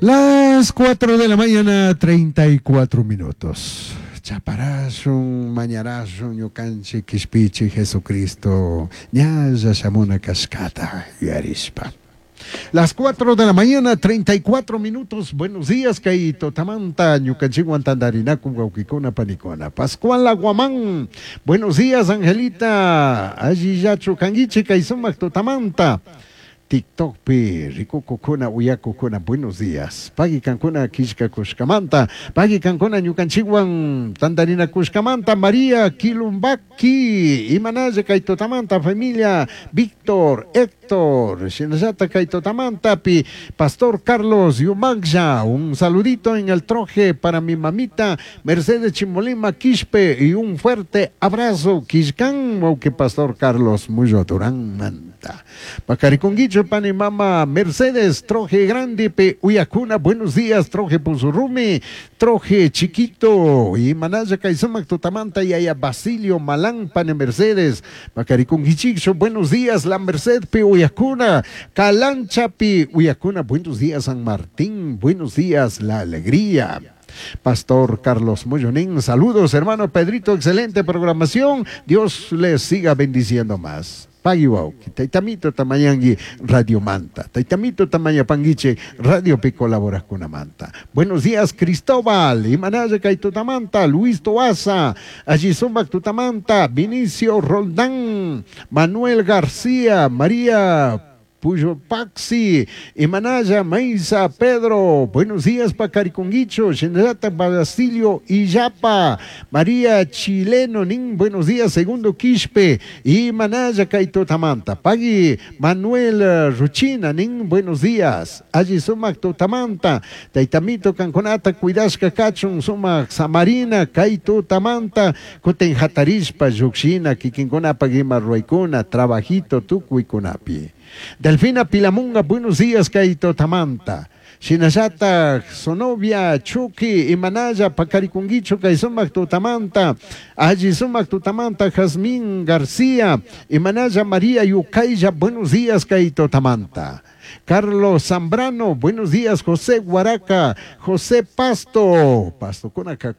Las 4 de la mañana, 34 minutos. Chaparashun, mañarashun, ñukanchik kishpichik Jesucristo, ñalla shamuna kashkata yuyarishpa. Las 4 de la mañana, 34 minutos. Buenos días, kay tutamanta, ñukanchikwan tantarinakun wawkikuna panikuna. Pascual Aguamán. Buenos días, Angelita. Allillachu kankichik kay sumak tutamanta. TikTokpi rikukukuna uyakukuna buenos días. Pagui kankuna killkakushkamanta, pagui kankuna ñukanchikwan tantarinakushkamanta, María Kilumbaki, imanalla kay tutamanta familia Víctor, Héctor, shinallata kay tutamantapi, Pastor Carlos Yumaglla, un saludito en el troje para mi mamita Mercedes Chimolima Quispe y un fuerte abrazo killkan, que Pastor Carlos Muyo Durán manta. Pacariconguicho pani mama Mercedes Troje Grande pe Uyacuna, buenos días, Troje Puzurrumi, Troje Chiquito, y Manaya Kaizumac Tutamanta, Yaya Basilio Malán, pane Mercedes, Pacariconguichicho, buenos días, La Merced pe Uyacuna, Calancha pi Uyacuna, buenos días, San Martín, buenos días, La Alegría. Pastor Carlos Moyonín, saludos hermano Pedrito, excelente programación, Dios les siga bendiciendo más. Pagui wawki, taytamito tamañangui Radio Manta, taytamito tamañapanguiche Radio pi colaborajkunamanta. Buenos días Cristóbal, Imanaya kay tutamanta, Luis Toaza, allí sumak tutamanta, Vinicio Roldán, Manuel García, María Puyo Paxi, Imanaya, Maisa, Pedro, buenos días, Pacariconguicho, Shinrata, Basilio, Illapa, María Chileno, Nin, buenos días, Segundo Quispe, Imanaya, Kaito Tamanta, Pagui, Manuel Ruchina, Nin, buenos días, Allí Sumac Tutamanta, Taitamito, Canconata, Cuidasca, Cachun, Sumac, Samarina, Kaito Tamanta, Kuten Hatarishpa, Yuxina, Kikinkuna, Pagima, Ruaicuna, Trabajito, Tucuicunapi. Delfina Pilamunga, buenos días, Kaito Tamanta. Shinallata, Sonovia, Chuki, Imanaya, Pacarikunguicho, Kaisumac Tutamanta, Allí Sumac Tutamanta, Jazmín García, Imanaya María Yucaya, buenos días, Kaito Tamanta. Carlos Zambrano, buenos días, José Guaraca, José Pasto, Pasto Conaca.